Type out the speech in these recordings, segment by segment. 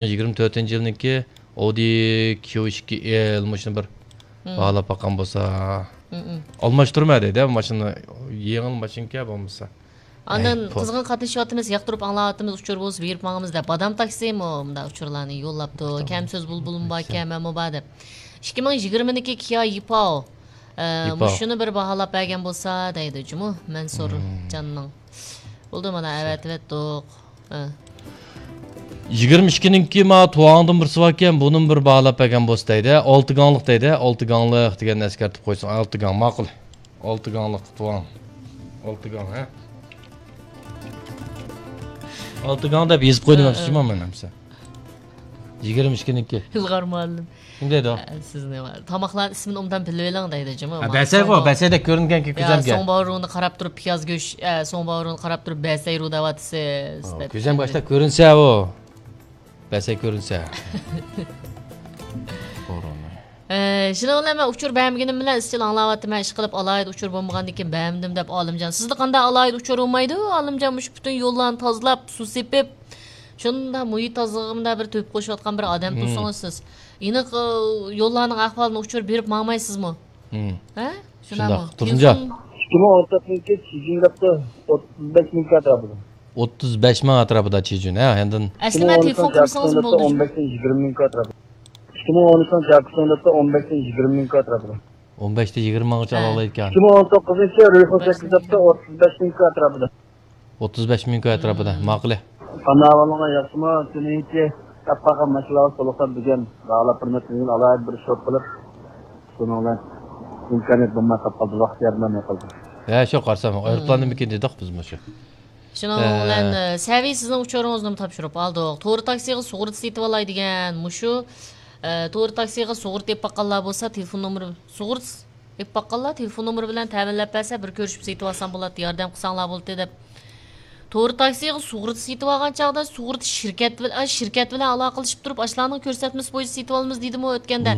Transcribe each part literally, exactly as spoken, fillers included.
يىگىرمە تۆتىنچى يىلنىڭكى ئودى كيۇ ئىككى ئېل مۇشۇنى بىر باھالاپ باققان بولسا. ئالماشتۇرما دەيدۇ، ماشىنا يېڭىلا ماشىنىكەن بولمىسا. ئاندىن قىزغىن قاتنىشىۋاتىمىز، ياقتۇرۇپ ئاڭلاۋاتىمىز، ئۇچۇر بولسا بېرىپ ماڭىمىز دەپ. بادام تاكسىمۇ مۇنداق ئۇچۇرلارنى يوللاپتۇ. كەم سۆز بۇلبۇلۇم باركەن، مەنمۇ بار دەپ. ئىككى مىڭ يىگىرمىنىڭكى كىيا يىپاۋ. ئە، مۇشۇنى بىر باھالاپ بەرگەن بولسا دەيدۇ جۇمۇ مەنسۇر جاننىڭ. بولدى، مانا ئەۋەتىۋەتتۇق. ھە. يىگىرمە ئىككىنىڭكى ما تۇۋاڭدىن بىرسى باركەن، بۇنىمۇ بىر باھالاپ بەرگەن بولسا دەيدۇ. ئالتە گاڭلىق دەيدۇ. ئالتە گاڭلىق دېگەننى ئەسكەرتىپ قويساڭ، ئالتە گاڭ ماقۇل. ئالتە گاڭلىق تۇۋاڭ. ئالتە گاڭ، ھە؟ ئالتە گاڭ دەپ يېزىپ قويدۇم، ھە، ھە. مەن ئەمسە. يىگىرمە ئىككىنىڭكى. ئىلغار مۇئەللىم. كىم دەيدۇ؟ ئە، سىزنى تاماقلارنىڭ ئىسمىنى ئوبدان بىلىۋېلىڭ دەيدۇ جۇمۇ. ھە، بەسەي غو، بەسەيدەك كۆرۈنگەنكى كۆزەمگە. سوڭ باۋرۇڭنى قاراپ تۇرۇپ پىياز گۆش، ئە، سوڭ باۋرۇڭنى قاراپ تۇرۇپ بەسەي رۇ دەۋاتىسىز دەپ. كۆزەم باشتا كۆرۈنسە ئۇ. بەسەي كۆرۈنسە. ئە، شۇنىڭ بىلەن مەن ئۇچۇر بەرمىگىنىم بىلەن ئىزچىل ئاڭلاۋاتىمەن. ئىشقىلىپ ئالاھىدە ئۇچۇر بولمىغاندىن كېيىن بەرمىدىم دەپ ئالىمجان. سىزدە قانداق ئالاھىدە ئۇچۇر بولمايدۇ؟ ئالىمجان مۇشۇ پۈتۈن يوللارنى تازىلاپ، سۇ سېپىپ، شۇنداق مۇھىت تازىلىقىدا بىر تۆھپە قوشۇۋاتقان بىر ئادەم تۇرسىڭىز سىز. ئېنىق، ئە، يوللارنىڭ ئەھۋالىنى ئۇچۇر بېرىپ ماڭمايسىزمۇ؟ ھە؟ شۇنداقمۇ؟ تۇرسۇنجان. ئىككى مىڭ ئون تۆتىنچى چىجىڭ دەپتۇ، ئوتتۇز بەش مىڭ ئەتراپىدا. ئوتتۇز بەش مىڭ ئەتراپىدا چىجۈن، ھە، ئاندىن. ئەسلىمە تېلېفون قىلمىسىڭىز بولاتتى. ئون بەشتىن يىگىرمە مىڭ ئەتراپىدا. ئىككى مىڭ ئون ئۈچىنچى جاكسون دەپتۇ، ئون بەشتىن يىگىرمە مىڭ ئەتراپىدا. ئون بەشتە يىگىرمە مىڭغىچە ئالالايدىكەن. ئىككى مىڭ ئون توققۇزىنچى رۇيخو سەككىز دەپتۇ، ئوتتۇز بەش مىڭ ئەتراپىدا. ئوتتۇز بەش مىڭ ئەتراپىدا، ماقۇلى. قانداق ئەھۋالىڭلار، ياخشىمۇ؟ تۈنۈگۈنكى تاپقان ماشىنىلارغا تولۇقلاپ بۈگۈن باھالاپ بېرىمەن، تۈنۈگۈن ئالاھىدە بىر شوت قىلىپ، شۇنىڭ بىلەن ئىمكانىيەت بولماي قالىپ قالدى، ۋاقىت ياردىملەشمەي قالدى. ھە، شۇ قارىسام، ئايروپىلاننىمىكىن دېدۇق بىز مۇشۇ. شۇنىڭ بىلەن، ئە، سەۋىي سىزنىڭ ئۇچۇرىڭىزنىمۇ تاپشۇرۇپ ئالدۇق. تور تاكسىغا سۇغۇرتا سېتىۋالاي دېگەن مۇشۇ، ئە، تور تاكسىغا سۇغۇرتا ئېلىپ باققانلار بولسا، تېلېفون نومۇرى، سۇغۇرتا ئېلىپ باققانلار تېلېفون نومۇرى بىلەن تەمىنلەپ بەرسە، بىر كۆرۈشۈپ سېتىۋالسام بولاتتى، ياردەم قىلساڭلار بولاتتى دەپ. تور تاكسىغا سۇغۇرتا سېتىۋالغان چاغدا سۇغۇرتا شىركەت بىلەن، شىركەت بىلەن ئالاقىلىشىپ تۇرۇپ، ئاشۇلارنىڭ كۆرسەتمىسى بويىچە سېتىۋالىمىز دېدىمۇ ئۆتكەندە.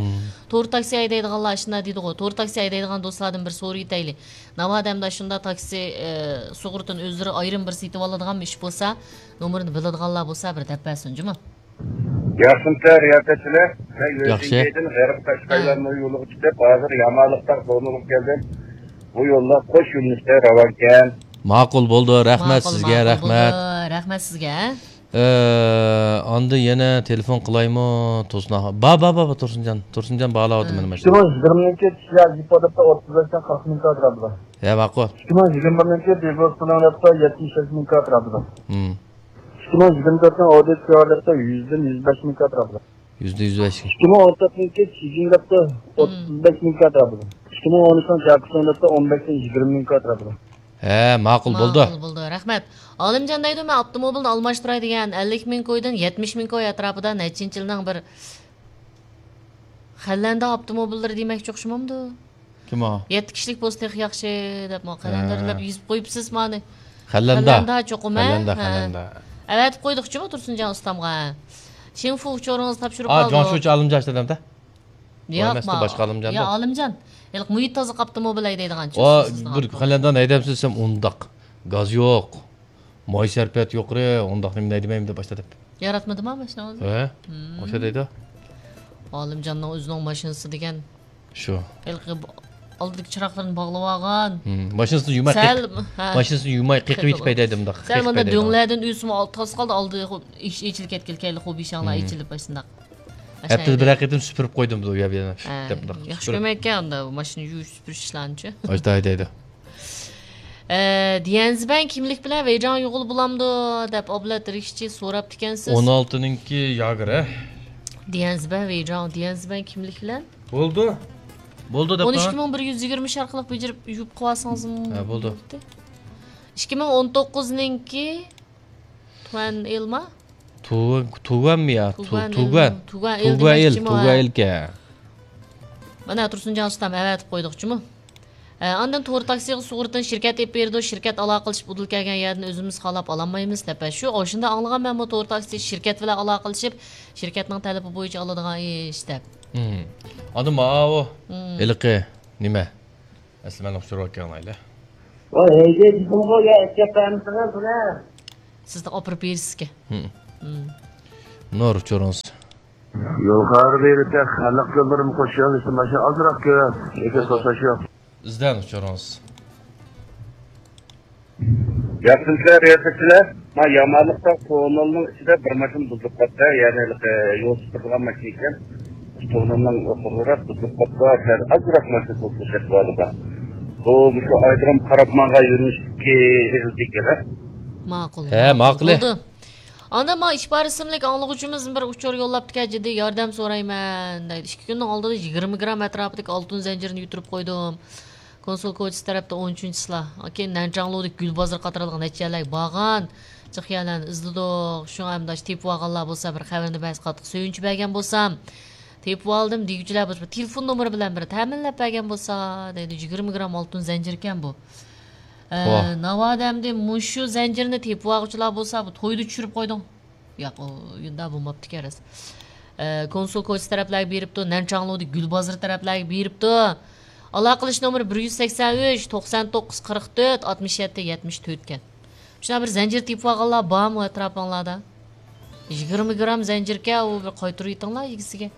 تور تاكسى ھەيدەيدىغانلار ئاشۇنداق دېدىغۇ. تور تاكسى ھەيدەيدىغان دوستلاردىن بىر سورىۋېتەيلى. ناۋادا ئەمدى ئاشۇنداق تاكسى، ئە، سۇغۇرتىنى ئۆزلىرى ئايرىم بىر سېتىۋالىدىغانمۇ ئىش بولسا، نومۇرىنى بىلىدىغانلار بولسا بىر دەپ بەرسۇن جۇمۇ. ياخشىمۇسىلەر رىياسەتچىلەر؟ مەن ياخشى. يۈرۈشۈنكەيدىن غەرب قەشقەرلەرنىڭ يولىغا چىقىپ، ھازىر يامالىقتاق زونىغا كەلدىم. بۇ يوللار قوش يۆنىلىشتە راۋانكەن. ماقۇل بولدى، رەھمەت سىزگە، ماقۇل رەھمەت. بولدى، رەھمەت سىزگە. ئە، ئاندىن يەنە تېلېفون قىلايمۇ؟ تۇرسۇن ئاغا. با، با، با، با، تۇرسۇنجان. تۇرسۇنجان باھالاۋاتىدۇ مېنى ماشىنا. ئىككى مىڭ يىگىرمىنىڭكى تىيا جىپو دەپتۇ، ئوتتۇز بەشتىن قىرىق مىڭ ئەتراپىدا. ھە، ماقۇل. ئىككى مىڭ يىگىرمە بىرىنىڭكى بىگوس پۇلۇڭ دەپتۇ، يەتمىش بەش مىڭ ئەتراپىدا. ھىم. ئىككى مىڭ يىگىرمە تۆتنىڭ ئودى كيۇ ئار دەپتۇ، يۈزدىن يۈز بەش مىڭ ئەتراپىدا. يۈزدە يۈز بەش. ئىككى مىڭ ئون تۆتنىڭكى چىجىڭ دەپتۇ، ئوتتۇز بەش مىڭ ئەتراپىدا. ئىككى مىڭ ئون ئۈچنىڭ جاكسون دەپتۇ، ئون بەشتىن يىگىرمە مىڭ ئەتراپىدا. ھە، ماقۇل، بولدى. ماقۇل، بولدى. رەھمەت. ئالىمجان دەيدۇ، مەن ئاپتوموبىلنى ئالماشتۇراي دېگەن، ئەللىك مىڭ كويدىن يەتمىش مىڭ كوي ئەتراپىدا نەچچىنچى يىلنىڭ بىر خەنلەندە ئاپتوموبىللىرى دېمەكچى ئوخشىمامدۇ؟ كىم ئۇ؟ يەتتە كىشىلىك بولسا تېخى ياخشى دەپ، مانا قەلەندەرلەپ يېزىپ قويۇپسىز مانى. خەنلەندە. خەنلەندە چوقۇم، ھە؟ خەنلەندە، ھە. خەنلەندە. ئەۋەتىپ قويدۇق جۇمۇ تۇرسۇنجان ئۇستامغا. شىنفۇ ئۇچۇرىڭىزنى تاپشۇرۇپ قالدۇق. جۇاڭشۇچى ئالىمجان ئىشلەتەمدە؟ ياق، باشقا ئالىمجان. يا ئالىمجان. ھېلىقى مۇھىت تازىلىق ئاپتوموبىل ھەيدەيدىغان. بىر خەنلەندە ھەيدەمسىز دېسەم ئۇنداق. گاز يوق. ماي سەرپىيات يۇقىرى، ئۇنداق نېمە دەيدىمەن دەپ باشلىدى. ياراتمىدىما ماشىنىڭىزنى؟ ھە؟ ھىم. ئوشۇ دەيدۇ. ئالىمجاننىڭ ئۆزىنىڭ ماشىنىسى دېگەن. شۇ. ھېلىقى ئالدىدىكى چىراغلىرىنى باغلىۋالغان. ھىم. ماشىنىسىنى يۇماي سەل، قېق-، ھە. ماشىنىسىنى يۇماي قېقىۋېتىپ ھەيدەيدۇ مۇنداق. سەل مۇنداق دۆڭلەردىن ئۆسمۇ تاس قالدى، ئالدى خو-، ئېچ-، ئېچىلىپ كەتكىلى كەيلى، خو بېشىڭلار ئېچىلىپ ئاشۇنداق. ھەپتىدە بىرەر قېتىم سۈپۈرۈپ قويدۇم بۇ يەر بۇيەرنى. ھە، دەپ مۇنداق ياخشى سۈپۈرۈپ. كۆرمەيدىكەن ئاندا ماشىنا يۇيۇش سۈپۈرۈش ئىشلارنىچۇ. ئاشتا ھەيدەيدۇ. ئە، ديەنزبەن كىملىك بىلەن ۋېيجاڭ يۇغىلى بولامدۇ دەپ ئابلەت رىشچى سوراپتىكەنسىز. ئون ئالتىنىڭكى ياگېر، ھە؟ ديەنزبەن ۋېيجاڭ، ديەنزبەن كىملىك بىلەن؟ بولدى. بولدى دەپ. ئون ئىككى مىڭ بىر يۈز يىگىرمە ئىش ئارقىلىق بېجىرىپ يۇيۇپ قويسىڭىزمۇ ھە، بولدى. بولاتتى. ئىككى مىڭ ئون توققۇزنىڭكى تۇەن ئېلما؟ تۇ-، تۇگەنمۇ يا؟ تۇ-، تۇگەن تۇگەن. ئېل. تۇگەن ئېل، تۇگەن ئېلكەن. مانا تۇرسۇنجان ئۇستام ئەۋەتىپ قويدۇقچىمۇ؟ ئە، ئاندىن تور تاكسىغا سۇغۇرتىنى شىركەت ئېلىپ بېرىدۇ، شىركەت ئالاقىلىشىپ ئۇدۇل كەلگەن يەردىن ئۆزىمىز خالاپ ئالالمايمىز دەپ. شۇ، ئاشۇنداق ئاڭلىغان مەنمۇ تور تاكسى شىركەت بىلەن ئالاقىلىشىپ، شىركەتنىڭ تەلىپى بويىچە ئالىدىغان ئىش دەپ. ھىم. ئاندىن ماۋۇ، ھېلىقى نېمە؟ ئەسلى مەن ئۇچۇرۇۋەتكەن ئايلى. ۋاي، ھەيدەي دېدىمغۇ، يا ئەكەپ بەرمىسىڭىز بۇنى. سىزنى ئاپىرىپ بېرىسىزكەن. ھىم. ھىم. نۇر، ئۇچۇرىڭىز. يۇقىرىدا يۈرۈپ خەلق يوللىرىمۇ قوشۇۋېلىشتىم، ماشىنا ئازراق كۆپ، لېكىن توساش يوق. ئىزدەڭ ئۇچۇرىڭىز. ياخشىمۇسىلەر رىياسەتچىلەر؟ ما يامانلىقتا توننېلنىڭ ئىچىدە بىر ماشىنا بۇزۇلۇپ قاپتۇ، يەنى ھېلىقى يول سۈپۈرىدىغان ماشىنا ئىكەن. توننېلنىڭ ئوخۇرراق بۇزۇلۇپ قاپتۇ، سەل ئازراق ماشىنا توسۇلۇش ئەھۋالىدا. بۇ مۇشۇ ئايرودروم قاراپ ماڭغان يۆنىلىشتىكى ئېغىز ئىكەن. ماقۇل، ھە، ماقۇل. ماقۇل. بولدى. ئاندىن ما ئىپادە ئىسىملىك ئاڭلىغۇچىمىز بىر ئۇچۇر يوللاپتىكەن، جىددىي ياردەم سورايمەن دەيدۇ. ئىككى كۈننىڭ ئالدىدا يىگىرمە گرام ئەتراپىدىكى ئالتۇن زەنجىرنى يۈتۈرۈپ قويدۇم. كونسۇل كوچىسى تەرەپتە ئون ئۈچىنچى چىسلا. كېيىن نەنچاڭلۇدىكى گۈل بازىرى قاتارلىق نەچچە يەرلەرگە بارغان، جىق يەرلەرنى ئىزدىدۇق. شۇڭا ئەمدى ئاشۇ تېپىۋالغانلار بولسا بىر خەۋىرىنى بەرسە قاتتىق سۆيۈنچ بەرگەن بولسام. تېپىۋالدىم دېگۈچىلەر بولسا بىر تېلېفون نومۇرى بىلەن بىر تەمىنلەپ بەرگەن بولسا دەيدۇ. يىگىرمە گرام ئالتۇن زەنجىركەن بۇ. ئە، ۋاھ. ناۋادا ئەمدى مۇشۇ زەنجىرنى تېپىۋالغۇچىلار بولسا بۇ تويدا چۈشۈرۈپ قويدۇڭ. ياق، ئۇ يۇندا بولماپتىكەن راست. ئە، كونسۇل كوچىسى تەرەپلەرگە بېرىپتۇ، نەنچاڭلۇدىكى گۈل بازىرى تەرەپلەرگە بېرىپتۇ. ئالاقىلىشىش نومۇرى بىر يۈز سەكسەن ئۈچ، توقسان توققۇز، قىرىق تۆت، ئاتمىش يەتتە، يەتمىش تۆت ئىكەن. شۇنداق بىر زەنجىر تېپىۋالغانلار بارمۇ ئەتراپىڭلاردا؟ يىگىرمە گرام زەنجىركەن، ئۇ بىر قايتۇرۇۋېتىڭلار ئىگىسىگە.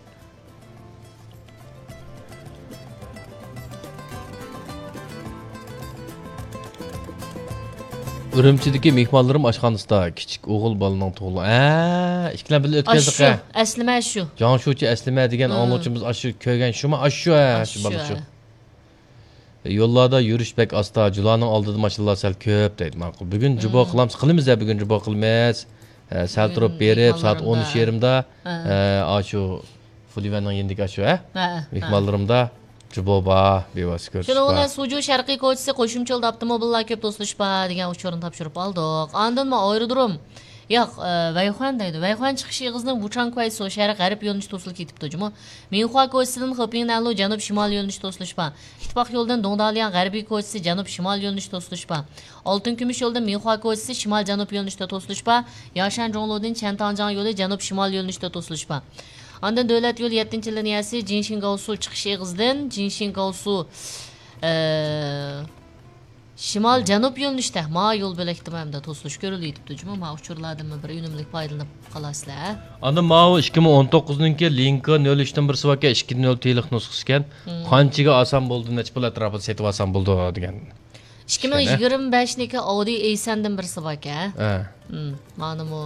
ئۈرۈمچىدىكى مېھمانلىرىم ئاشخانىسىدا كىچىك ئوغۇل بالىنىڭ تۇغۇلغان. ھە، ئىككىلەن بىللە ئۆتكەزدۇق، ئاشۇ، ھە. ئەسلىمە شۇ. جاڭشۇچى ئەسلىمە دېگەن، ھە، ئاڭلىغۇچىمىز ئاشۇ كۆرگەن شۇمۇ، ئاشۇ، ھە، شۇ ئاشۇ، بالا شۇ. ھە. يوللاردا يۈرۈش بەك ئاستا، جۇلانىڭ ئالدىدا ماشىنىلار سەل كۆپ دەيدۇ، ماقۇل. بۈگۈن جۇبو قىلامسىز؟ قىلىمىز ھە، بۈگۈن جۇبو قىلىمىز. ھە، سەل تۇرۇپ بېرىپ، سائەت ئون ئۈچ يېرىمدا، ھە، ئاشۇ فۇلىۋەننىڭ يېنىدىكى ئاشۇ، ھە؟ ھە، ھە. مېھمانلىرىمدا جۇبو بار، بىۋاسىتە كۆرۈشۈش بار. شۇنىڭ بىلەن سۇجۇ شەرقىي كوچىسى قوشۇمچە يولدا ئاپتوموبىللار كۆپ توسۇلۇش بار دېگەن ئۇچۇرنى تاپشۇرۇپ ئالدۇق. ئاندىنمۇ ئايرودروم. ياق، ئە، ۋەيخۇەن دەيدۇ. ۋەيخۇەن چىقىش ئېغىزىدىن ۋۇچاڭ كۇەيسو شەرق غەرب يۆنىلىشى توسۇلۇپ كېتىپتۇ جۇمۇ. مىنخۇا كوچىسىدىن خېپىڭنەنلۇ جەنۇب شىمال يۆنىلىشى توسۇلۇش بار. ئىتتىپاق يولىدىن دۇڭدالياڭ غەربىي كوچىسى جەنۇب شىمال يۆنىلىشى توسۇلۇش بار. ئالتۇن كۈمۈش يولىدىن مىنخۇا كوچىسى شىمال جەنۇب يۆنىلىشىدە توسۇلۇش بار. ياشەن جۇڭلۇدىن چيەنتاڭجياڭ يولى جەنۇب شىمال يۆنىلىشىدە توسۇلۇش بار. ئاندىن دۆلەت يولى يەتتىنچى لىنىيەسى جىنشىڭگاۋسۇ چىقىش ئېغىزىدىن جىنشىڭگاۋسۇ، ئە، شىمال جەنۇب يۆنىلىشتە ما يول بۆلەكتىمۇ ھەمدە توسۇلۇش كۆرۈلۈۋېتىپتۇ جۇمۇ. ما ئۇچۇرلاردىنمۇ بىر ئۈنۈملۈك پايدىلىنىپ قالارسىلەر. ئاندىن ماۋۇ ئىككى مىڭ ئون توققۇزنىڭكى لىنكا نۆل ئۈچتىن بىرسى باركەن، ئىككى نۆل تىلىق نۇسخىسىكەن. مم. قانچىگە ئالسام بولدى، نەچچە پۇل ئەتراپىدا سېتىپ ئالسام بولىدۇ دېگەن. ئىككى مىڭ يىگىرمە بەشنىڭكى ئاۋدى ئېيسەندىن بىرسى باركەن. ھە. مم، مانىمۇ.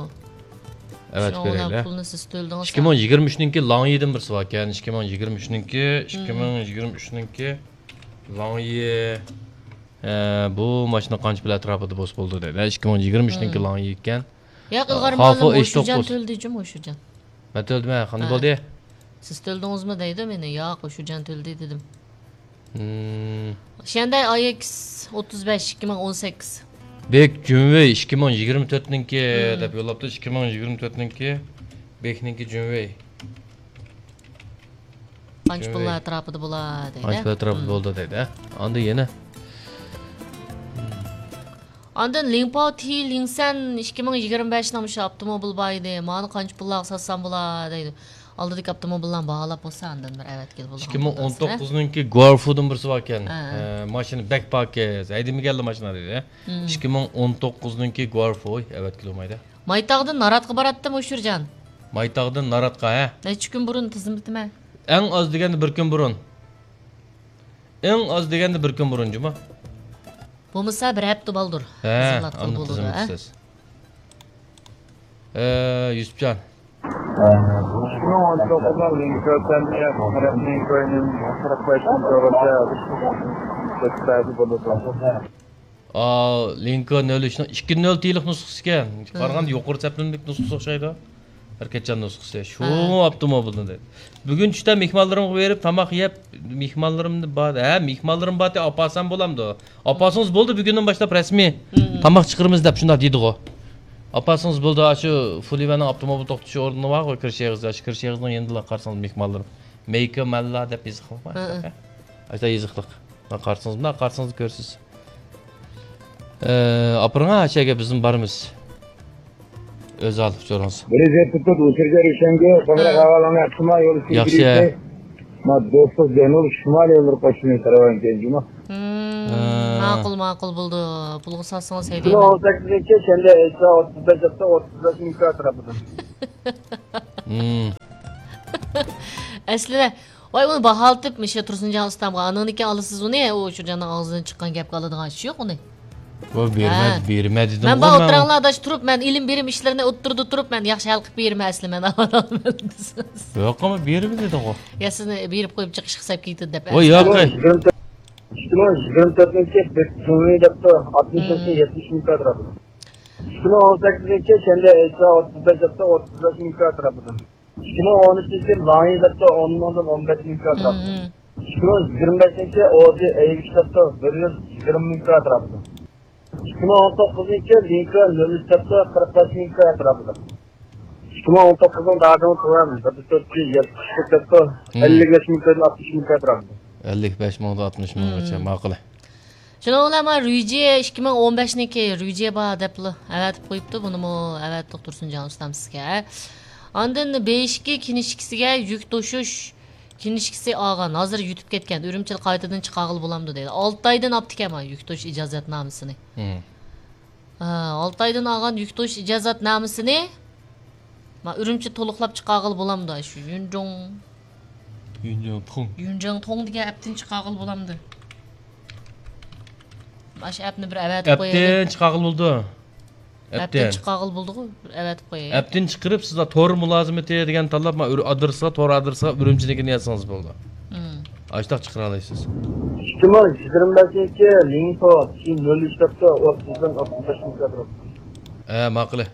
ئەۋەتىپ شۇنىڭ بىلەن بېرەيلى. پۇلنى سىز تۆلىدىڭىز. ئىككى مىڭ يىگىرمە ئۈچنىڭكى لاڭيىدىن بىرسى باركەن. ئىككى مىڭ يىگىرمە ئۈچنىڭكى، مم. ئىككى مىڭ يىگىرمە ئۈچنىڭكى لاڭيى. ئە، بۇ ماشىنا قانچە پۇل ئەتراپىدا بولسا بولىدۇ دەيدۇ. ئىككى مىڭ يىگىرمە ئۈچنىڭكى، مم، لاڭيى ئىكەن. ياق، ئە، ئىلغار مۇئەللىم، ھوشۇرجان تۆلىدى جۇم، ھوشۇرجان. مەن تۆلىدىم، ھە، قانداق بولدى؟ سىز تۆلىدىڭىزمۇ دەيدۇ مېنى. ياق، ھوشۇرجان تۆلىدى دېدىم. مم. شيەندەي ئاي ئېكس ئوتتۇز بەش، ئىككى مىڭ ئون سەككىز. بېك جۈنۋېي ئىككى مىڭ يىگىرمە تۆتنىڭكى، مم، دەپ يوللاپتۇ. ئىككى مىڭ يىگىرمە تۆتنىڭكى، بېكنىڭكى جۈنۋېي. قانچە پۇللار ئەتراپىدا بولا دەيدۇ. قانچە پۇل ئەتراپىدا، مم، بولىدۇ دەيدۇ. ئاندىن يەنە. ئاندىن لىڭپاۋ تى لىڭسەن ئىككى مىڭ يىگىرمە بەشنىڭ مۇشۇ ئاپتوموبىل بار ئىدى. مانا قانچە پۇللارغا ساتسام بولا دەيدۇ. ئالدىدىكى ئاپتوموبىللارنى باھالاپ بولسا ئاندىن بىر ئەۋەتكىلى بولىدۇ. ئىككى مىڭ ئون توققۇزنىڭكى گۇارفۇدىن بىرسى باركەن. ھە. ئە، ماشىنا بەك پاكىز. ھەيدىمىگەنلا ماشىنا دەيدۇ. مم. ئىككى مىڭ ئون توققۇزنىڭكى گۇارفۇ، ئەۋەتكىلى بولمايدۇ. مايتاغدىن ناراتقا باراتتىم، ھوشۇرجان. مايتاغدىن ناراتقا، ھە؟ نەچچە كۈن بۇرۇن تىزىملىتىمەن. ئەڭ ئاز دېگەندە بىر كۈن بۇرۇن. ئەڭ ئاز دېگەندە بىر كۈن بۇرۇن جۇمۇ. بولمىسا بىر ھەپتە بالدۇر. ھە، تىزىملاتقىلى ئاندىن بولىدۇ، ھە؟ تىزىملىتىسىز. ئە، يۈسۈپجان. ئىككى مىڭ ئون توققۇزنىڭ لىنكولن تەرەپنىڭ كوينىڭ قىرىق بەش مىڭ دوللارچە كۆتۈرۈپ بولىدۇ. ئا، لىنكولن نۆل ئۈچنىڭ ئىككى نۆل تىلىق نۇسخىسى ئىكەن. قارىغاندا يۇقىرى سەپلىمىلىك نۇسخىسى ئوخشايدۇ. بىر كەتچان نۇسخىسى. شۇ ئاپتوموبىلنى دەيدۇ. بۈگۈن چۈشتە مېھمانلىرىمغا بېرىپ، تاماق يەپ، مېھمانلىرىمنى بار، ھە، مېھمانلىرىم بار، ئاپارسام بولامدۇ؟ ئاپارسىڭىز بولدى، بۈگۈندىن باشلاپ رەسمىي تاماق چىقىرىمىز دەپ شۇنداق دېدىغۇ. ئاپارسىڭىز بولدى، ئاشۇ فۇلىۋەننىڭ ئاپتوموبىل توختىتىش ئورنى بارغۇ، كىرىش ئېغىزى، ئاشۇ كىرىش ئېغىزىنىڭ يېنىدىلا قارىسىڭىز مېھمانلىرىم. مېيكە مەللا دەپ يېزىقلىق بار. ھە، ھە. ئاشۇنداق يېزىقلىق. مانا قارىسىڭىز، مانا قارىسىڭىز كۆرىسىز. ئە، ئاپىرىڭ ھە، ئەشەگە بىزمۇ بارىمىز. ئۆزئال ئۇچۇرىڭىز. بىر يۈز يەتتە تۆت ئۇچۇرجان روشەنگە، قوڭغۇراق ئەھۋالىڭنى ئەتسىما يول ياخشى. ئىچىدىكى، ما دوستلۇق جەنۇب شىمال يوللىرى قوشۇنى تەرەۋەن كەنجىما. مم، ھە. ماقۇل، ماقۇل بولىدۇ. پۇلغا ساتسىڭىز ئىككى مىڭ ھەيدەيمەن. ئون سەككىزىنچى شەنبە ئېيتسا ئوتتۇز بەش ھەپتە ئوتتۇز بەش مىڭ كاترا بولىدۇ. مم. ئەسلىدە، ۋاي، ئۇنى باھالىتىپ، مۇشۇ تۇرسۇنجان ئۇستامغا، ئاندىن كېيىن ئالىسىز ئۇنى، ئۇ شۇ جاننىڭ ئاغزىدىن چىققان گەپكە ئالىدىغان ئىش يوق ئۇنى. ئۇ بېرىمە، ھە. بېرىمە دېدىم مەن بار ئوتتۇراڭلار ئاداش تۇرۇپ، مەن ئېلىم بېرىم ئىشلىرىنى ئوتتۇرىدا تۇرۇپ، مەن ياخشى ھەل قىلىپ بېرىمەن ئەسلى مەن ئاۋۋال دېسىڭىز. يوق، ئەمما بېرىمە دېدىڭغۇ. يا سىزنى بېرىپ قويۇپ چىقىش قىلساپ كېتىدۇ دەپ. ۋاي، ياق. ئىككى مىڭ يىگىرمە تۆتىنچى بېكجۇڭلى دەپتۇ، ئاتمىش مىڭ، يەتمىش مىڭ كاترا. ئىككى مىڭ ئون سەككىزىنچى شەنبە ئېيتسا ئوتتۇز بەش ھەپتە ئوتتۇز بەش مىڭ كاترا. ئىككى مىڭ ئون ئۈچىنچى لاڭيى دەپتۇ، ئون مىڭدىن ئون بەش مىڭ كاترا. ئىككى مىڭ يىگىرمە بەشىنچى ئوجى ئەيگۈچ دەپتۇ، بىر يۈز يىگىرمە مىڭ كاترا. ئىككى مىڭ ئون توققۇزىنچى لىڭكا نۆل ئۈچ دەپتۇ، قىرىق بەش مىڭ كاترا. ئىككى مىڭ ئون توققۇزنىڭ دادىڭ تۆۋەن، بىر تۆت يۈز يەتمىش ئىككى دەپتۇ، ئەللىك بەش مىڭدىن ئاتمىش مىڭ كاترا. ئەللىك بەش مىڭدىن ئاتمىش مىڭغىچە، ماقۇل. شۇنىڭ بىلەن مانا رۈيجى ئىككى مىڭ ئون بەشنىڭكى رۈيجى بار دەپلا ئەۋەتىپ قويۇپتۇ. بۇنىمۇ ئەۋەتتۇق تۇرسۇنجان ئۇستام سىزگە. ئاندىن بېيىشكى كىنىشكىسىگە يۈك توشۇش كىنىشكىسى ئالغان. ھازىر يۈتۈپ كەتكەن. ئۈرۈمچىدە قايتىدىن چىقارغىلى بولامدۇ دەيدۇ. ئالتە ئايدىن ئاپتىكەن مانا يۈك توشۇش ئىجازەتنامىسىنى. ھە، ئالتە ئايدىن ئالغان يۈك توشۇش ئىجازەتنامىسىنى ما ئۈرۈمچى تولۇقلاپ چىقارغىلى بولامدۇ؟ شۇ يۈنجۇڭ، يۈنجۇڭ توڭ. يۈنجۇڭ توڭ دېگەن ئەپتىن چىقارغىلى بولامدۇ؟ مانا شۇ ئەپنى بىر ئەۋەتىپ قويايلى. ئەپتىن چىقارغىلى بولىدۇ. ئەپتىن. ئەپتىن چىقارغىلى بولىدىغۇ، بىر ئەۋەتىپ قويايلى. ئەپتىن چىقىرىپ، سىزلەر تور مۇلازىمىتى دېگەن تاللاپ، ما ئادرېسقا، تور ئادرېسقا ئۈرۈمچىنىڭكىنى يازسىڭىز بولىدۇ. ئاشتاق چىقىرالايسىز. ئىككى مىڭ يىگىرمە بەشىنچى لىڭتو، شى نۆل ئۈچ دەپتۇ، ئوتتۇزدىن ئوتتۇز بەش مىڭ كاترا. ھە، ماقۇلى.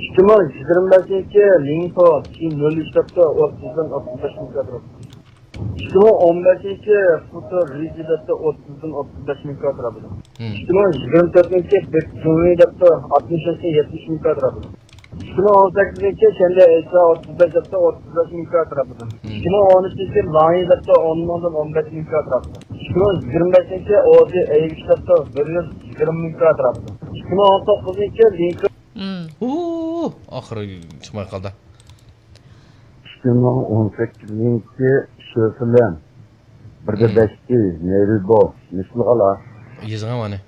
ئىككى مىڭ يىگىرمە بەشىنچى لىڭتو، شى نۆل ئۈچ دەپتۇ، ئوتتۇزدىن ئوتتۇز بەش مىڭ كاترا. ئىككى مىڭ ئون بەشىنچى فۇتو رىجى دەپتۇ، ئوتتۇزدىن ئوتتۇز بەش مىڭ كاترا بولىدۇ. ئىككى مىڭ يىگىرمە تۆتىنچى بېكجۇڭلى دەپتۇ، ئاتمىش بەشتىن يەتمىش مىڭ كاترا بولىدۇ. ئىككى مىڭ ئون سەككىزىنچى شەنبە ئېيتسا، ئوتتۇز بەش دەپتۇ، ئوتتۇز بەش مىڭ كاترا بولىدۇ. ئىككى مىڭ ئون ئۈچىنچى لاڭيى دەپتۇ، ئون مىڭدىن ئون بەش مىڭ كاترا بولىدۇ. ئىككى مىڭ يىگىرمە بەشىنچى ئودى ئەيگۈچ دەپتۇ، بىر يۈز يىگىرمە مىڭ كاترا بولىدۇ. ئىككى مىڭ ئون توققۇزىنچى لىنكولن. ئۇ، ئاخىرى چىقماي قالدى. ئىككى مىڭ ئون سەككىزىنچى شۆفىلەن. بىردە بەشتى نېرىبو مىسلىغالا. يېزىڭ مانا.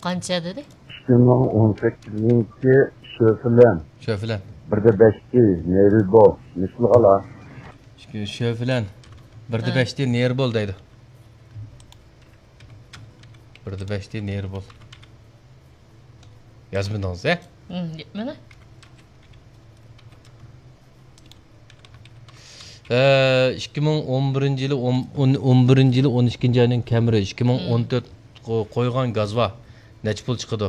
قانچە دېدى؟ ئىككى مىڭ ئون سەككىزىنچى شۆفىلەن. شۆفىلەن. بىردە بەشتى نېرىبو مىسلىغالا. شۆفىلەن. بىردە بەشتى نېرىبول دەيدۇ. بىردە بەشتى نېرىبول. يازمىدىڭىز، ھە؟ مانا. ئىككى مىڭ ئون بىرىنچى يىلى، ئون، ئون، ئون بىرىنچى يىلى ئون ئىككىنچى ئاينىڭ كەمرى، ئىككى مىڭ ئون تۆت قو-، قويغان گازۋا نەچچە پۇل چىقىدۇ؟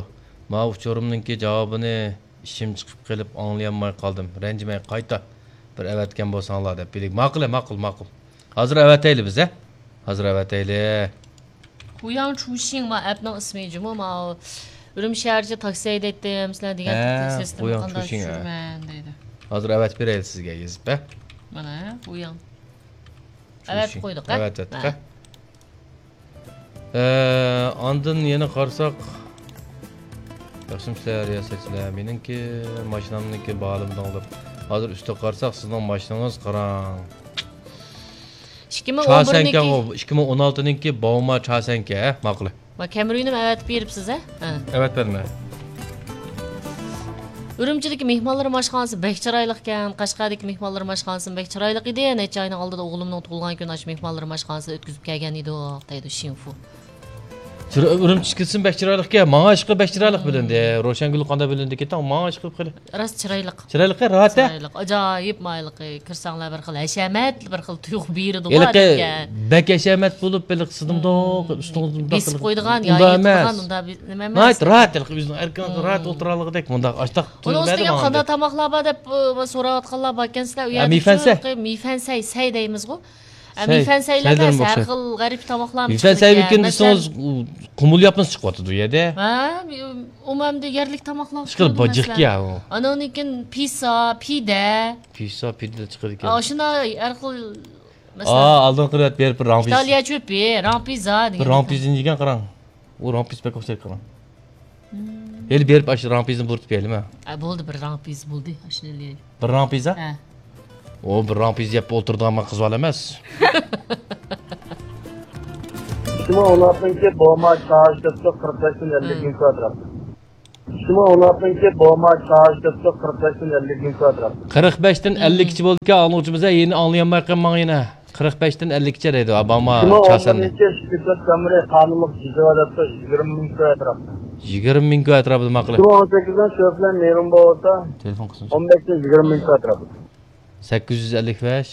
ماۋۇ ئۇچۇرۇمنىڭكى جاۋابىنى ئىچىم چىقىپ قېلىپ ئاڭلىيالماي قالدىم. رەنجىمەي قايتا بىر ئەۋەتكەن بولساڭلار دەپ بىلىك. ماقۇل، ماقۇل، ماقۇل. ھازىر ئەۋەتەيلى بىز، ھە؟ ھازىر ئەۋەتەيلى. خۇياڭ چۇشىڭ ما ئەپنىڭ ئىسمى جۇمۇ، ما ئۈرۈمچى شەھەرچە تاكسى ھەيدەيتتىم، سىلەر دېگەن سىستېما قانداق چۈشۈرىمەن دەيدۇ. ھازىر ئەۋەتىپ بېرەيلى سىزگە يېزىپ، ھە؟ مانا، خۇياڭ. ئەۋەتىپ قويدۇق، ھە؟ ئەۋەتىپ قويدۇق، ھە؟ ئاندىن يەنە قارىساق، ياخشىمۇسىلەر رىياسەتچىلەر؟ مېنىڭكى ماشىنامنىڭكى باھالىمىدىڭ دەپ. ھازىر ئۈستىگە قارىساق، سىزنىڭ ماشىنىڭىز قاراڭ. ئىككى مىڭ ئون بىرنىڭكى، ئىككى مىڭ ئون ئالتىنىڭكى باۋما چاسەنكە، ھە؟ ماقۇل. ما كەمرىنىمۇ ئەۋەتىپ بېرىپسىز، ھە؟ ھە. ئەۋەتىپ بەردىم، ھە. ئۈرۈمچىدىكى مېھمانلىرىم ئاشخانىسى بەك چىرايلىقكەن، قەشقەردىكى مېھمانلىرىم ئاشخانىسىمۇ بەك چىرايلىق ئىدى. نەچچە ئاينىڭ ئالدىدا ئوغلۇمنىڭ تۇغۇلغان كۈنى ئاشۇ مېھمانلىرىم ئاشخانىسىدا ئۆتكۈزۈپ كەلگەن ئىدۇق، دەيدۇ شىنفۇ. چىرا-، ئۈرۈمچى كىرسىمۇ بەك چىرايلىقكەن، ماڭا ئىشقىلىپ بەك چىرايلىق بىلىندى. روشەنگۈل قانداق بىلىندى كېتىڭ، ماڭا ئىشقىلىپ خېلى. راست چىرايلىق. چىرايلىق، راھەت، ھە؟ چىرايلىق، ئاجايىپ مايلىقى. كىرسەڭلار بىر خىل ھەشەمەت، بىر خىل تۇيغۇ بېرىدىغۇ ھېلىقى ئادەمگە. بەك ھەشەمەت بولۇپ، ھېلىقى سىزنى مۇنداق ئۈستىڭىزدە مۇنداق بېسىپ قىلىپ، قويىدىغان يا ئۇنداق ئەمەس. يېتىدىغان، ئۇنداق بى-، نېمە ئەمەس. ناھايىتى راھەت، ھېلىقى ئۆزىنىڭ ئەركىن راھەت ئولتۇرالىغۇدەك مۇنداق ئاشتاق. ئۇنىڭ ئۈستىگە يەنە قانداق تاماقلار بار دەپ، ئە، سوراۋاتقانلار باركەن سىلەر. ئۇ يەردە مىفەنسەي. مىفەنسەي، سەي دەيمىزغۇ. ئە، مىفەنسەيلەر ئەمەس، ھەر خىل غەرىب تاماقلارمۇ پىشىرىدىكەن. مىفەنسەي بىر كۈن دېسىڭىز، قۇمۇل ياپمىسى چىقىۋاتىدۇ ئۇ يەردە. ھە، ئۇمۇ ئەمدى يەرلىك تاماقلار ئىشقىلىپ باجىقكەن ئۇ. ئانىڭدىن كېيىن پىسا، پىدە. پىسا، پىدە چىقىدىكەن. ئاشۇنداق ھەر خىل، مەسىلەن، ئالدىنقى رەت بېرىپ بىر راڭپىز. ئىتالىيە چۆپى، راڭپىزا دېگەن. بىر راڭپىزنى يېگەن قاراڭ. ئۇ راڭپىز بەك ئوخشايدۇ قاراڭ. ھېلى بېرىپ ئاشۇ راڭپىزنى بۇرىتىپ بېرەيلىمۇ؟ ئە، بولدى، بىر راڭپىز بولدى، ئاشۇنى ئېلىۋېلەيلى. بىر راڭپىز، ھە؟ ھە. ئۇ بىر راڭپىز يەپ ئولتۇرىدىغان قىز بالا ئەمەس. ئىككى مىڭ ئون ئالتىنچى بوما چارج دەپتۇ، قىرىق بەشتىن ئەللىك مىڭ كۋادرات. ئىككى مىڭ ئون ئالتىنچى بوما چارج دەپتۇ، قىرىق بەشتىن ئەللىك مىڭ كۋادرات. قىرىق بەشتىن ئەللىككىچە بولىدىكەن، ئاڭلىغۇچىمىز، يەنە ئاڭلىيالمايقان ماڭا يەنە. قىرىق بەشتىن ئەللىككىچە دەيدۇ، ئاباما ئىككى مىڭ ئون چاساننى. بىرىنچى شىركەت كامېرى قانۇنلۇق جىزا دەپتۇ، يىگىرمە مىڭ كۋادرات. يىگىرمە مىڭ كۋادرات، ماقۇل. ئىككى مىڭ ئون سەككىزدىن شۆفلەن نېرۇن بولسا، تېلېفون قىسمى. ئون بەشتىن يىگىرمە مىڭ كۋادرات. سەككىز يۈز ئەللىك بەش،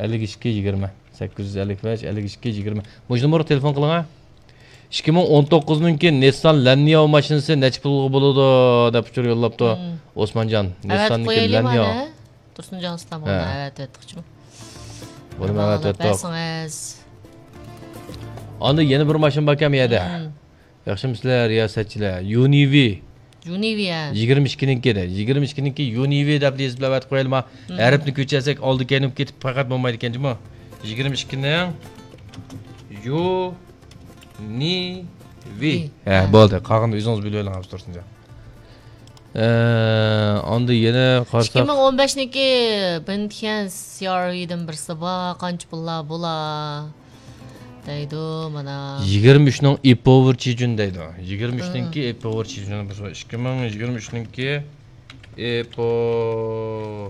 ئەللىك ئىككى، يىگىرمە. سەككىز يۈز ئەللىك بەش، ئەللىك ئىككى، يىگىرمە. مۇشۇ نومۇرغا تېلېفون قىلىڭا. ئىككى مىڭ ئون توققۇزنىڭكى نىسسان لانياۋ ماشىنىسى نەچچە پۇلغا بولىدۇ دەپ ئۇچۇر يوللاپتۇ. مم. ئوسمانجان، ئەۋەتىپ نىسساننىڭكى قويايلىما لانياۋ. ئەنە؟ تۇرسۇنجان ئۇستام، ھە. ئەۋەتىۋەتتۇقچۇ. بۇنى ئەۋەتىۋەتتۇق. بەرسىڭىز. ئاندىن يەنە بىر ماشىنا باركەن بۇ يەردە. مم. ياخشىمۇسىلەر، رىياسەتچىلەر؟ يۇنىۋى. يۇنىۋى، ھە. يىگىرمە ئىككىنىڭكى دە. يىگىرمە ئىككىنىڭكى يۇنىۋى دەپ يېزىپ ئەۋەتىپ قويايلىما؟ مم. ھەرپنى كۆچۈرسەك، ئالدى كەينى بولۇپ كېتىپ پەقەت بولمايدىكەن جۇمۇ. يىگىرمە ئىككىنىڭ يۇنىۋى. ھە، ھە. بولدى. قالغىنىنى ئۆزىڭىز بىلىۋېلىڭ، ھەمسە تۇرسۇنجان. ئە، ئاندىن يەنە قارىساق. ئىككى مىڭ ئون بەشنىڭكى بېنتخيەن سى ئار ۋىدىن بىرسى بار، قانچە پۇللار بولا؟ دەيدۇ، مانا. يىگىرمە ئۈچنىڭ ئېپوۋېر چىجۈن دەيدۇ. يىگىرمە ئۈچنىڭكى ھە. ئېپوۋېر چىجۈن بىرسى بار. ئىككى مىڭ يىگىرمە ئۈچنىڭكى ئېپوۋېر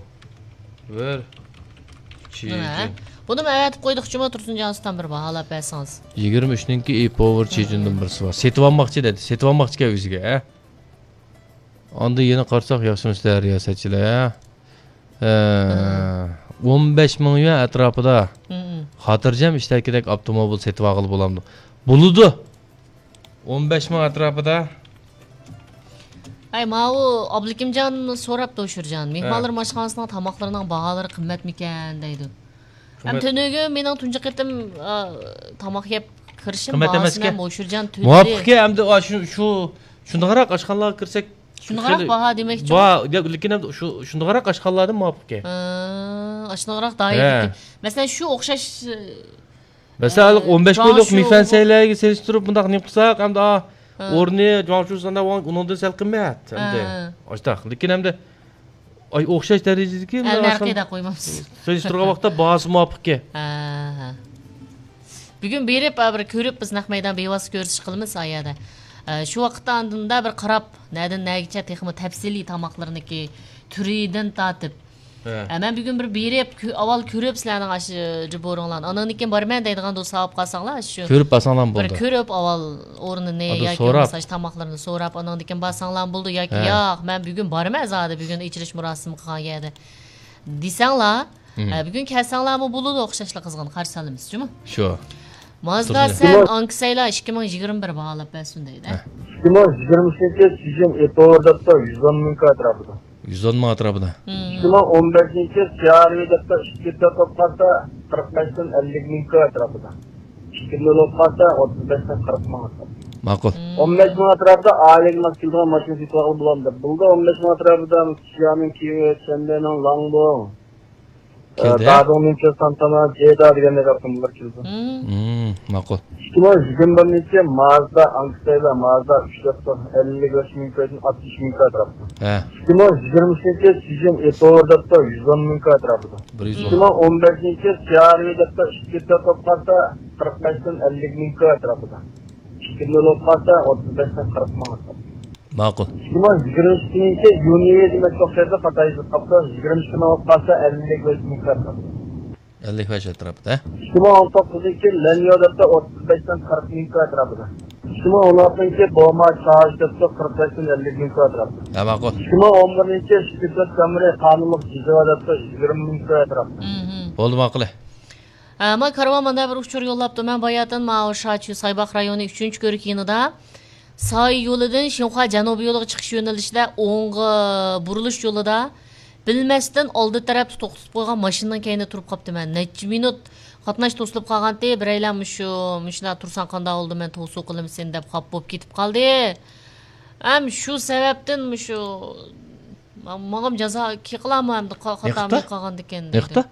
چىجۈن. مانا، ھە. بۇنىمۇ ئەۋەتىپ قويدۇقچۇمۇ، تۇرسۇنجان ئۇستام، بىر باھالاپ بەرسىڭىز. يىگىرمە ئۈچنىڭكى ئېپوۋېر چىجۈندىن بىرسى بار. سېتىۋالماقچى دەيدۇ. سېتىۋالماقچىكەن ئۆزىگە، ھە؟ ئاندىن يەنە قارىساق، ياخشىمۇسىلەر، رىياسەتچىلەر؟ ھە، ئون بەش مىڭ يۈەن ئەتراپىدا خاتىرجەم ئىشتەكىدەك ئاپتوموبىل سېتىۋالغىلى بولامدۇ؟ بولىدۇ. ئون بەش مىڭ ئەتراپىدا. ئەي، ماۋۇ ئابلىكىمجان سوراپتۇ، شۇرجان. ھە. مېھمانلىرىم ئاشخانىسىنىڭ تاماقلىرىنىڭ باھالىرى قىممەتمىكەن دەيدۇ. ھەم تۈنۈگۈن مېنىڭ تۇنجى قېتىم، ئا، تاماق يەپ كىرىشىم باھاسىنى ھەم ئوشۇرجان تۈنۈگۈن. مۇۋاپىقكەن، ئەمدى، ئا، شۇ، شۇ، شۇنداقراق ئاشخانىلارغا كىرسەك، شۇنداقراق باھا دېمەكچىمۇ؟ لېكىن ئەمدى شۇ، شۇنداقراق ئاشخانىلاردىن مۇۋاپىقكەن. ھە، ئاشۇنداقراق دائىرىدىكى. ھە. مەسىلەن، شۇ ئوخشاش، مەسىلەن، ئە، ئون بەش كىلولۇق مىفەنسەيلەرگە سېلىشتۇرۇپ بۇنداق نېمە قىلساق، ئەمدى، ئا، ھە. ئورنى جۇاڭشۇ ساندا ئۇنىڭدىن سەل قىممەت، ئەمدى. ھە. ئاشتاق. لېكىن ئەمدى ئاي، ئوخشاش دەرىجىدىكى ھە، مۇنداق نەرخى ئاشخانا دەپ قويمامسىز. سېلىشتۇرغان ۋاقىتتا باھاسى مۇۋاپىقكەن. ھە، ھە. بۈگۈن بېرىپ، ئا، بىر كۆرۈپ، بىز نەق مەيدان بىۋاسىتە كۆرۈشۈش قىلىمىز ئا يەردە. ئە، شۇ ۋاقىتتا ئاندىن بىر قاراپ، نەدىن نەگىچە تېخىمۇ تەپسىلىي تاماقلىرىنىكى تۈرىدىن تارتىپ. ھە. ئە، مەن بۈگۈن بىر بېرىپ، كۆ-، ئاۋۋال كۆرۈپ سىلەرنىڭ ئاشۇ رېبورىڭلارنى، ئاندىن كېيىن بارىمەن دەيدىغان دوستلار ئاپ قالساڭلار، شۇ كۆرۈپ بارساڭلارمۇ بولىدۇ. بىر كۆرۈپ ئاۋۋال ئورنىنى ياكى بولمىسا ئاشۇ تاماقلىرىنى سوراپ، ئاندىن كېيىن بارساڭلارمۇ بولىدۇ ياكى ھە. ياق، مەن بۈگۈن بارىمەن زادى، بۈگۈن ئېچىلىش مۇراسىمى قىلغان يەردە دېسەڭلار، مم. ھە، بۈگۈن كەلسەڭلارمۇ بولىدۇ، ئوخشاشلا قىزغىن قارشى ئالىمىز، جۇمۇ. شۇ. مازدا سەن ئانكىسەيلا ئىككى مىڭ يىگىرمە بىر باھالاپ بەرسۇن دەيدۇ. ھە. ئىككى مىڭ يىگىرمە ئۈچىنچى سىزىم ئېتوۋېر دەپتۇ، يۈز ئون مىڭ كۋادراتىدا. يۈز ئون مىڭ ئەتراپىدا. مم. ئىككى مىڭ ئون بەشىنچى سى ئار ۋى دەپتۇ، ئىككى تۆت بولۇپ قالسا، قىرىق بەشتىن ئەللىك مىڭ كۋادراتىدا. ئىككى نۆل بولۇپ قالسا، ئوتتۇز بەشتىن قىرىق مىڭ ئەتراپىدا. ماقۇل. مم. ئون بەش مىڭ ئەتراپىدا ئائىلىگە ماس كېلىدىغان ماشىنا سېتىۋالغىلى بولامدۇ؟ بولدى، ئون بەش مىڭ ئەتراپىدا شيامىڭ كيۇ، چيەنبېنىڭ لانگبو، كەلدى. دادۇڭنىڭ كۆز تانتانا، جېدا دېگەندەك ئاپتوموبىللار كېلىدۇ. مم. مم، ماقۇل. ئىككى مىڭ يىگىرمە بىرىنچى مازدا ئانكسايلا، مازدا ئۈچ دەپتۇ، ئەللىك بەش مىڭ كويدىن ئاتمىش مىڭ كوي ئەتراپىدا. ھە. ئىككى مىڭ يىگىرمە ئۈچىنچى سىزىم ئېتوۋېر دەپتۇ، يۈز ئون مىڭ كوي ئەتراپىدا. بىر يۈز ئون. ئىككى مىڭ ئون بەشىنچى سى ئار ۋى دەپتۇ، ئىككى تۆت بولۇپ قالسا، قىرىق بەشتىن ئەللىك مىڭ كوي ئەتراپىدا. ئىككى نۆل بولۇپ قالسا، ئوتتۇز بەشتىن قىرىق مىڭ ئەتراپىدا. ماقۇل. ئىككى مىڭ يىگىرمە ئىككىنچى يۇنى دېمەك ئوخشايدۇ، خاتا يېزىپ قاپتۇ. يىگىرمە ئىككى مىڭ بولۇپ قالسا، ئەللىك بەش مىڭ كوي ئەتراپىدا. ئەللىك بەش ئەتراپىدا، ھە؟ ئىككى مىڭ ئون توققۇزىنچى لەنيو دەپتۇ، ئوتتۇز بەشتىن قىرىق مىڭ كوي ئەتراپىدا. ئىككى مىڭ ئون ئالتىنچى بوما چارج دەپتۇ، قىرىق بەشتىن ئەللىك مىڭ كوي ئەتراپىدا. ھە، ماقۇل. ئىككى مىڭ ئون بىرىنچى شىپىتلىق كامرى قانۇنلۇق جىزا دەپتۇ، يىگىرمە مىڭ كوي ئەتراپىدا. مم. بولدى، ماقۇل. ھە، ما كارۋان مانا بىر ئۇچۇر يوللاپتۇ. مەن باياتىن ماۋۇ شاچۈ سايباغ رايونى ئۈچىنچى كۆۋرۈك يېنىدا ساي يولىدىن شىنخۇا جەنۇبىي يولىغا چىقىش يۆنىلىشىدە ئوڭغا بۇرۇلۇش يولىدا بىلمەستىن ئالدى تەرەپتە توختىتىپ قويغان ماشىنىنىڭ كەينىدە تۇرۇپ قاپتىمەن. نەچچە مىنۇت قاتناش توسۇلۇپ قالغانتى، بىرەيلەن مۇشۇ، مۇشۇنداق تۇرساڭ قانداق بولىدۇ، مەن توسۇ قىلىمسەن دەپ خاپا بولۇپ كېتىپ قالدى. ھەم شۇ سەۋەبتىن مۇشۇ ما-، ماڭىمۇ جازا كېلىقىلا ئەمدى قا-، خاتا قىلىپ قالغاندىكىن دېدى. نېقىتا؟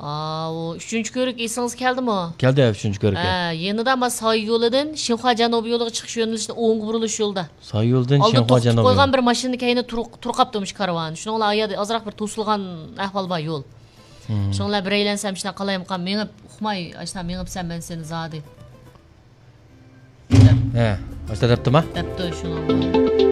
ئاۋۇ ئۈچىنچى كۆۋرۈك ئېسىڭىزگە كەلدىمۇ؟ كەلدى، ئۈچىنچى كۆۋرۈككە. ھە، يېنىدا ما ساي يولىدىن شىنخۇا جەنۇبىي يولىغا چىقىش يۆنىلىشىدە ئوڭغا بۇرۇلۇش يولدا. ساي يولىدىن ئالدىدا شىنخۇا توختىتىپ جەنۇبىي قويغان يول. بىر ماشىنا كەينىدە تۇرۇق-، تۇرۇپ قاپتۇ مۇشۇ كارۋان. شۇنىڭ بىلەن ئاياغدا ئازراق بىر توسۇلغان ئەھۋال بار يول. شۇڭلار بىرەيلەن سەن شۇنداق قالايمىقان مېڭىپ، ئۇقماي، ئاشۇنداق مېڭىپسەن، مەن سېنى زادى دەپ. ھە، ئاشۇنداق دەپتىما؟ دەپتۇ شۇنىڭغا.